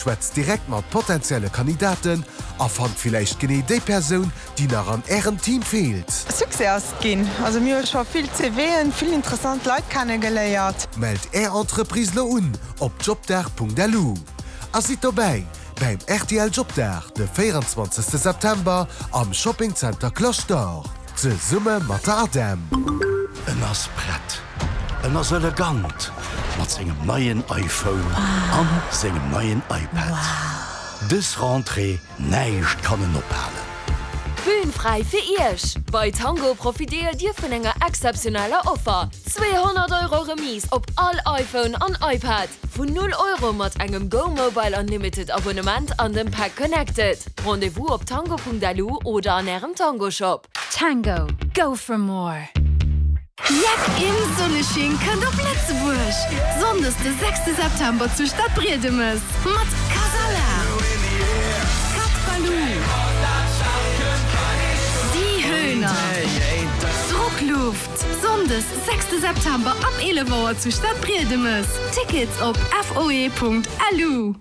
Schwätzt direkt mat potenzielle Kandidaten a fannt villäicht genee déi Persoun, déi nach an Ärem Team feelt. Succès ass et ginn. Also mir hu scho vill CVen, vill interessant Leit kennegeléiert. Mellt Är Entreprise lo un op jobdag.lu a sidd dobäi bäim rtl Jobdag de 24 September am Shopping Center Cloche d'Or zesumme mat der ADEM. En ass prett. En ass elegant mat sengem neien iPhone an sengem neien iPad. Dës Rentrée, näischt kann en ophalen. D'Bühn fräi fir Iech! Bei Tango profitéiert Dir vun enger exzeptioneller Offer, 200 Euro Remise op all iPhone an iPad vun 0 Euro mat engem Go Mobile Unlimited Abonnement an dem Pack Connected. Rendez-vous op tango.lu oder an Ärem Tango Shop. Tango, go for more! Jeck im Sonnesching kënnt op Lëtzebuerg! Sonndes de sechste September zu Stadbriedemes mat Kasala, Cat Baloo, Die Höhner, Druckluft. Sonndes sechste September ab 11 Auer zu Stadbriedemes. Tickets op foe.lu.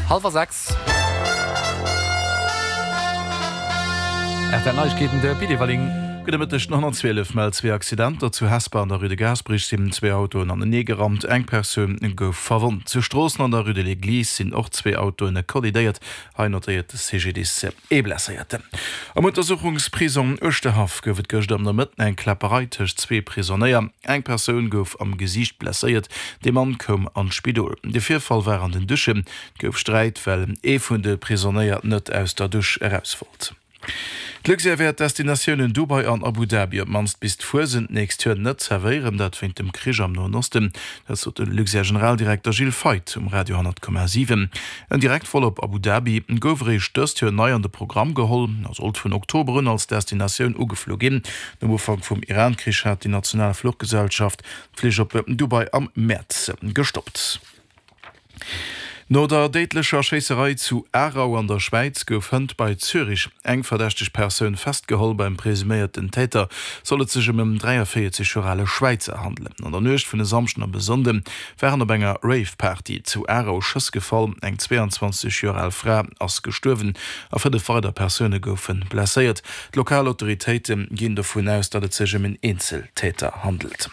Hallwer 6. RTL Neiegkeeten, de Pit Everling. Gudde Mëtteg. Den 112 mellt zwee Accidenter. Zu Hesper an der Rue de Gaasperech sinn zwee Autoen anenee gerammt. Eng Persoun gouf verwonnt. Zu Stroossen an der Rue de l'Eglise sinn och zwee Autoen kollidéiert. Hei notéiert de CGDIS ee Blesséierten. Am Untersuchungsprisong Uerschterhaff gouf et gëschter am Nomëtten eng Kläpperei tëscht zwee Prisonéier. Eng Persoun gouf am Gesiicht blesséiert, de Mann koum an d'Spidol. De Virfall war an den Duschen. Et gouf Sträit, well ee vun de Prisonéier net aus der Dusch eraus wollt. D'Luxair wäert d'Destinatiounen Dubai an Abu Dhabi op d'mannst bis d'Fuesent d'nächst Joer net zerwéieren, dat wéint dem Krich am Noen Osten. Dat sot de Luxair-Generaldirekter Gilles Feith um Radio 10,7. En Direktvol op Abu Dhabi gouf eréischt dëst Joer nei an de Programm geholl a sollt vun Oktober un als Destinatioun ugeflu ginn. Nom Ufank vum Iran-Krich hat déi national Fluchgesellschaft d'Flich op Dubai am Mäerz gestoppt. No der déidlecher Schéisserei zu Aarau an der Schwäiz gouf hënt bei Zürich eng verdächteg Persoun festgeholl. Beim presuméierten Täter soll et sech ëm en 43 Joer ale Schwäizer handelen. An der Nuecht vun e Samschden op e Sonnde waren op enger Rave-Party zu Aarau Schëss gefall. Eng 22 Joer al Fra ass gestuerwen a 5 weider Persoune goufe blesséiert. D'lokal Autoritéite ginn dovun aus, datt et sech ëm en Eenzeltäter handelt.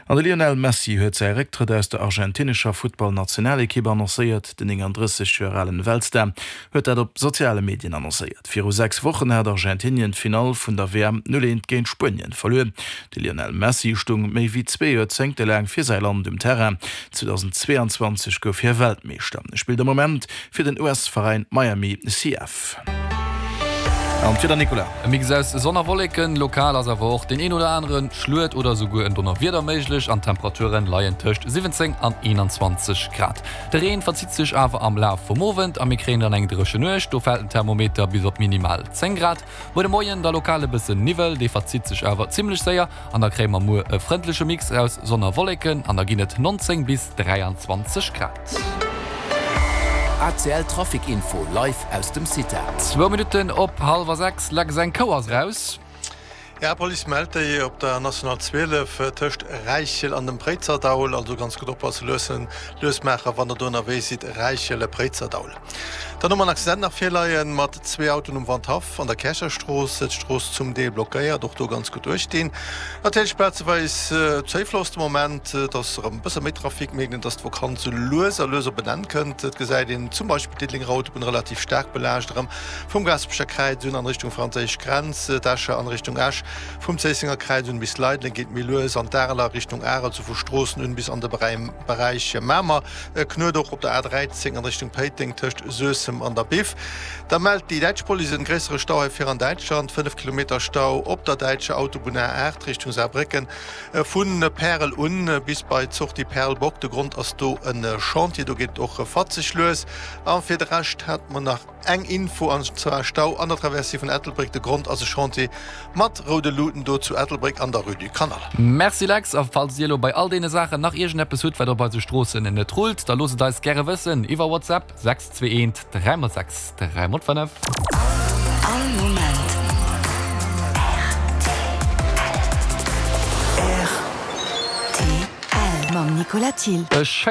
An de Lionel Messi huet säi Récktrëtt aus der argentinescher Futtballnationalekipp annoncéiert. Den 39 Joer alen Weltstar huet dat op soziale Medien annoncéiert. Viru 6 Wochen hat Argentinien d'Finall vun der WM 0, 1 géint Spuenien verluer. De Lionel Messi stung méi wéi zwee Joerzéngte laang fir säi Land um Terrain. 2022 gouf hie Weltmeeschter. E spillt am Moment fir den US-Veräin Miami CF. An d'Wieder, Nicolas? E Mix aus Sonn a Wolleken, lokal ass awer och deen een oder anere Schluet oder esouguer en Donnerwieder méiglech an d'Temperature leien tëscht 17 an 21 Grad. De Reen verzitt sech awer am Laf vum Owend a mir kréien dann eng dréche Nuecht, do fält den Thermometer bis op minimal 10 Grad. Muer de Moien da lokal e bëssen Niwwel, dee verzitt sech awer zimmlech séier an da kréie mer muer e frëndleche Mix aus Sonn a Wolleken an da ginn et 19 bis 23 Grad. ACL Trafic Info live aus dem CITA. Zwou Minutten op hallwer 6, Lex, eng Kou ass raus. Ja, Police mellt déi op der National 12 tëscht Räichel an dem Préizerdaul. Also ganz gutt oppassen, luessen, lues maachen, wann der do ënnerwee sidd, Räichel, Préizerdaul. Dann hu mer en Accident nach virleien mat zwee Autoen um Wandhaff an der Käercherstrooss. D'Strooss zum Deel blockéiert, och do ganz gutt uechtdinn. Natierlech plazeweis zéifloss de Moment. Et ass erëm e bësse méi Trafic, mierkt een, dass d'Vakanz sou lues a lues op en Enn kënnt. Et gesäit een zum Beispill d'Diddelenger Autobunn relativ staark belaascht, erëm vum Gaasperecher Kräiz un an Richtung franséisch Grenz, d'Escher an Richtung Esch, vum Zéissenger Kräiz un bis Leideleng geet méi lues an d'Areler Richtung Arel, sou vu Stroossen un bis an de Beräich Mamer. E Knuet och op der A 13 an Richtung Péiteng tëscht Suessem an der Biff. Da mellt déi däitsch Police en gréissere Stau hei vir an Däitschland, 5 Kilometer Stau op der däitscher Autobunn A 8 Richtung Saarbrécken vu Pärel un bis bei d'Sortie Perlbock. De Grond ass do e Chantier, do geet et och fatzeg lues. A fir de Rescht hat mer nach Eng Info an zwar Stau an der Traversée vun Ettelbréck. De Grond ass e Chantier mat roude Luuten do zu Ettelbréck an der Rue du Canal. Merci Lex, a falls dir elo bei all deene Saachen nach iergendeppes hutt wat op eise Stroossen net rullt, da loosst et eis gäre wëssen iwwer WhatsApp 621 3 x 6 3 x 5. All Moment rtl. Mam Nicolas Thill. E schéinen.